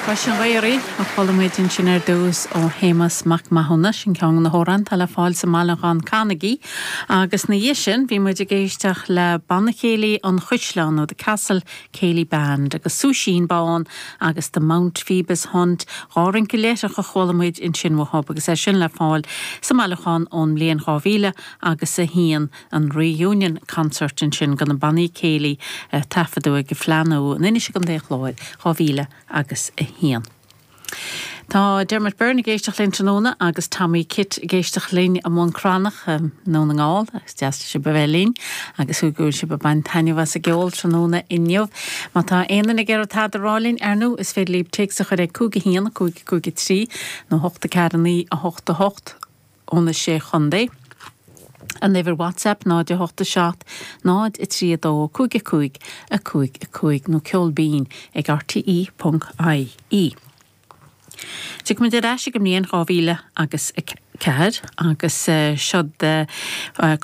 Cois an Ghaorthaidh a chuala muid ansin ar dtús ó Shéamus Mac Mathúna, sin ceann de na hamhráin atá le fáil sa mbailiúchán Canaigí. Agus ina dhiaidh sin bhí muid ag éisteacht le Banna Céilí an Chaisleáin nó The Castle Céilí Band agus Súisín Bán agus The Mount Phoebus Hunt, 'Dhá Rince Leithreach a chuala muid ansin uathub agus é sin le fáil sa mbailiúchán ón mbliain 2000 agus 1. An Reunion Concert ansin de na bannaí céilí a taifeadadh ag an Fleadh Nua in Inis i gContae an Chláir, 2000 agus 1. Tá Dermot Byrne ag éisteacht linn tráthnóna agus Tommy Kitt ag éisteacht linn i mBun Cranncha i nDún na nGall. Is deas sibh a bheith linn agus go bhfuil sibh ag baint taitneamh as an gceol tráthnóna inniu. Má tá aon duine ag iarraidh tada a rá linn, ar ndóigh, is féidir libh téacs a chur ag 5 1 5 5 3 nó 8 4 9 8 8. ó na Sé Chontae. An uimhir WhatsApp 0 8 7 0 3 2 5 5 5 5 nó ceol binn ag rte ponc ie. Tiocfaimid ar ais ag an mbliain 2000 agus 4 agus seod.